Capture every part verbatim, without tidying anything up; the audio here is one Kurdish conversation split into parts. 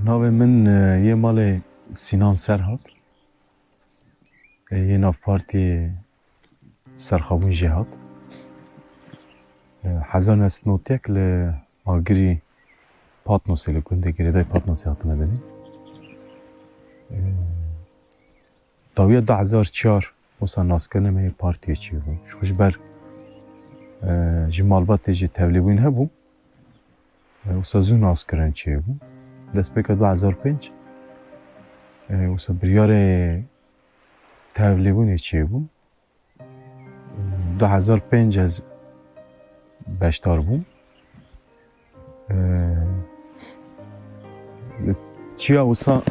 Navê min, e, yê malê Sînan Serhat. E, yê nav partiyê Serxabûn jê hat. E, hezar neh sed û nod û yek li Agirî Patnosê, li gundê girêdayî Patnosê hatime dinê. E, dawiya du hezar çar wisa naskirinê me yê partiyê çêbû. Ji xwe ji ber, e, ji malbatê jî tevlîbûn hebû. E, wisa zû naskirin çêbû. Destpêka du hezar pênc, e, wisa biryarê tevlîbûnê çêbû. Du hezar pênc ez beşdar bûm. E, çiya wisa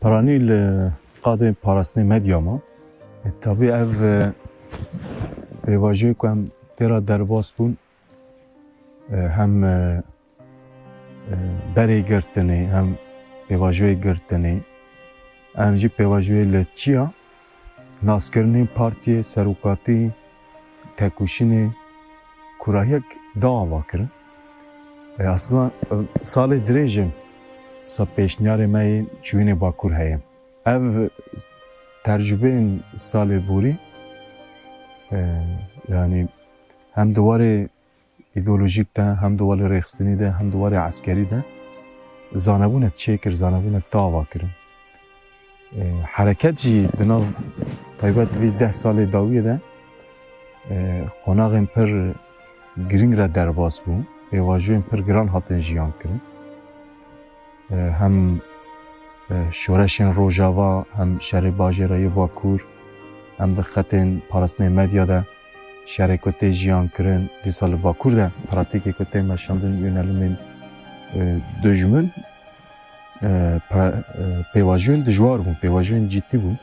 piranî li qadê parastinê medya ma. E, tabî ev, e, pêvajoyê ku em tê re derbas bûn, e, hem, e, e, berê girtinê, hem pêvajoyê girtinê, em jî pêvajoyê li çiya naskirinê partiyê, serokatî, têkoşînê, kûrahiyek da ava kirin. E, aslında, e, salê dirêj in, wisa pêşniyarê me yê çûyînê Bakur heye. Ev tercubeyên salê borî, e, yanî hem di warê îdeolojîk de, hem di warê rêxistinî de, hem di warê eskerî de zanebûnek çêkir, zanebûnek da ava kirin. E, hereket jî di nav taybet vî deh salê dawiyê de, e, qonaxên pir giring re derbas bû, pêvajoyên pir giran hatin jiyan kirin. E, hem, e, şoreşên Rojava, hem şerê bajêra yê Bakur, hem di xetên parastinê medya de şerê ku tê jiyan kirin, dîsa li Bakur de pratîkê ku tê meşandin, yönelimên, e, dijmin, e, pra-, e, pêvajoyên dijwar bûn, pêvajoyên cidî bûn.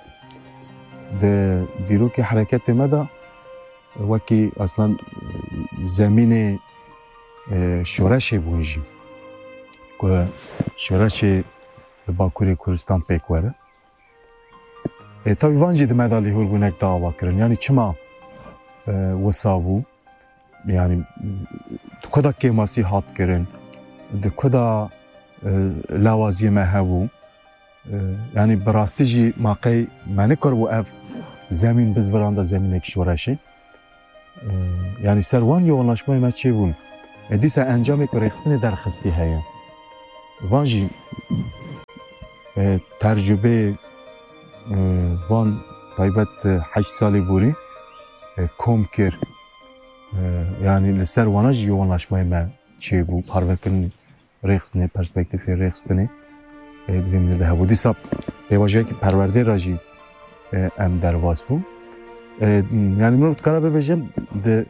Di dîrokê hereketê me de wekî aslan, e, zemînê, e, şoreşê bûn jî. Ku şoreşê li Bakurê Kurdistan pêk were. E, tabî van jî di me de lihûrbûnek da ava kirin. Yanî çima, e, wisa bû? Yanî di ku de kêmasî hat kirin? Di ku de, e, lawaziyê me hebû? E, yanî bi rastî jî ma qey me nikaribû ev zemîn bizviranda zemînek şoreşê. E, yanî ser wan yoğunlaşmayê me çêbûn. E, dîsa encamê ku rêxistinê derxistî heye. Van jî, e, tercubeyê, e, van taybet, e, heşt salê borî, e, kom kir. E, yanî li ser wana jî yoğunlaşmayê me çêbû, parvekirin rêxistinê, perspektîfê rêxistinê, e, di vê milê de hebû. Dîsa pêvajoyekî perwerdê re jî, e, em derbas bûn. E, yanî min dikare bibêjim, di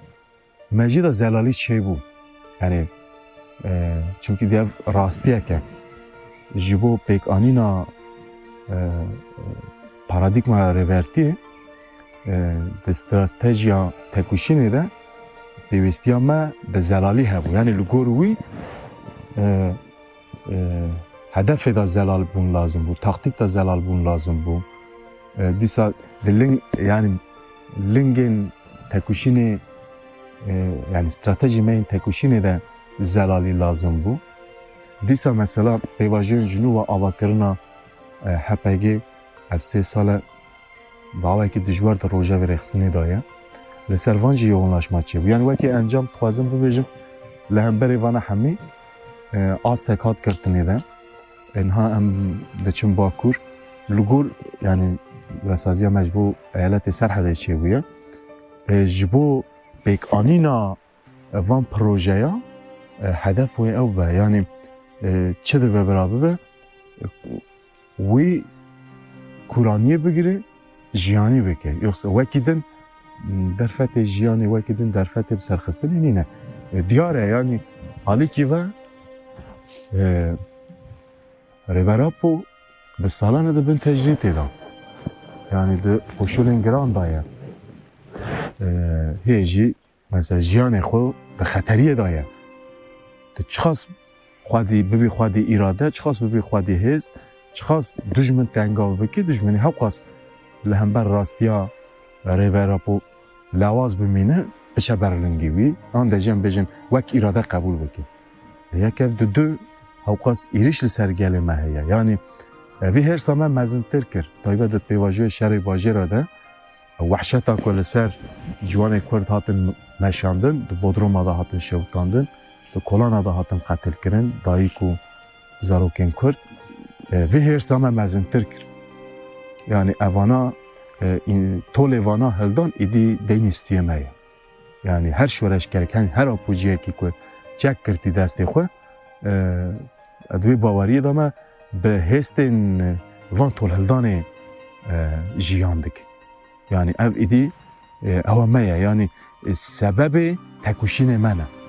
mejî de zelalî çêbû. Yanî, e, çimkî di ev rastiyek e. Ji bo pêkanîna, e, paradîgmaya rêbertiyê, e, di stratejiya têkoşînê de pêwîstiya me bi zelalî hebû. Yanî li gor wî, e, e, hedefê de zelal bûn lazim bû, taktîk de zelal bûn lazim bû. E, dîsa di ling, yanî lingên têkoşînê, e, yanî stratejî me yên têkoşînê de zelalî lazim bû. Dîsa mesela pêvajoyên ji nû ve avakirina, e, H P G ev sê sal e bi awayekî dijwar di rojevê rêxistinê de ye. Li ser van jî yoğunlaşma çêbû. Yanî wekî encam dixwazim bibêjim, li hemberê vana hemî, e, astek hat girtinê de. E, niha em diçin Bakur. Li gor, yanî, wesaziya me ji bo eyaletê Serhedê çêbûye. E, ji bo pêkanîna van projeya, e, hedef wê ew be. Yanî, e, çi dibe bira bibe, e, wî kûraniyê bigire, jiyanî bike. Yoksa wekî din, m, derfetê jiyanê, wekî din derfetê bi serxistinê nîne. E, diyar e, yanî alîkî ve, e, Rêber Apo bi salan e di bin tecrîtê de. Yanî di koşulên giran de ye. E, hê jî mesela jiyanê xwe di xeteriyê de ye. Tu çiqas xwedî bibî xwedî îrade, çiqas bibî xwedî hêz, çiqas dijmin tengav bikî, dijminî hewqas li hember rastiya Rêber Apo lawaz bimîne, biçe ber lingî wî, an de jî em bêjin wek îrade qebûl bike. Yek ev, di du, hewqas êrîş li ser gelê me heye. Yanî e, vî hêrsa me mezintir kir. Taybet di pêvajoyê şerê bajêra de wehşeta ku li ser ciwanê Kurd hatin meşandin, di Bodroma de hatin şewitandin, di kolana de hatin qetilkirin, dayik û zarokên Kurd, e, vî hêrsa me mezintir kir. Yanî evana, e, în-, tolê vana hildan êdî deynî stûyê me ye. Yanî her şoreşgerek, her, her apûciyekî ku çek girtî destê xwe, e, di wê baweriyê de me bi hêstên van tolhildanê, e, jiyan dike. Yanî ev êdî, e, ewa me ye. Yanî, e, sebebê tekoşînê me ne.